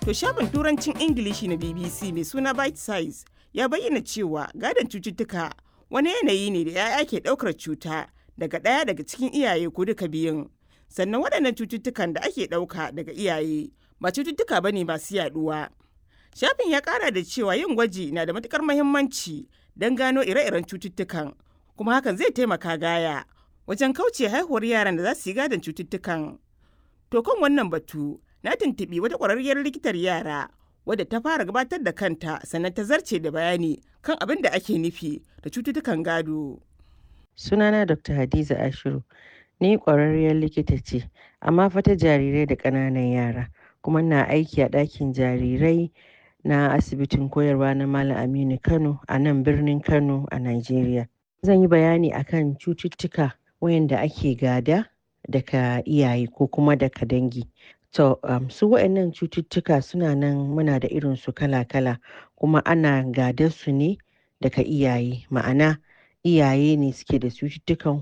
To shafin Turancin Ingilishi na BBC mai suna Bite Size ya bayyana cewa gadon cututtuka wani yanayi ne da 'ya'ya ke ɗaukar cuta daga ɗaya daga cikin iyaye ko duka biyun. Sannan waɗannan cututtukan da ake ɗauka daga iyaye ba cututtuka ba ne masu yaɗuwa. Shafin ya ƙara da cewa yin gwaji na da matuƙar muhimmanci don gano ire-iren cututtukan, kuma hakan zai taimaka gaya wajen kauce haihuwar yaran da za su yi gadon cututtukan. To kan wannan batu, na tuntuɓi wata ƙwararriyar likitar yara wadda ta fara gabatar da kanta sannan ta zarce da bayani kan abin da ake nufi da cututtukan gado. Sunana Dr. Hadiza Ashiru, ni ƙwararriyar likita ce, amma fa ta jarirai da ƙananan yara, kuma ina aiki a ɗakin jarirai na asibitin koyarwa na Malam Aminu Kano a nan birnin Kano a Najeriya. Zan yi bayani akan cututtuka wayanda ake gada daga iyaye ko kuma daga dangi. To, su waɗannan cututtuka suna nan muna da irinsu kala-kala kuma ana gadar su ne daga iyaye, ma'ana iyaye ne suke da cututtukan.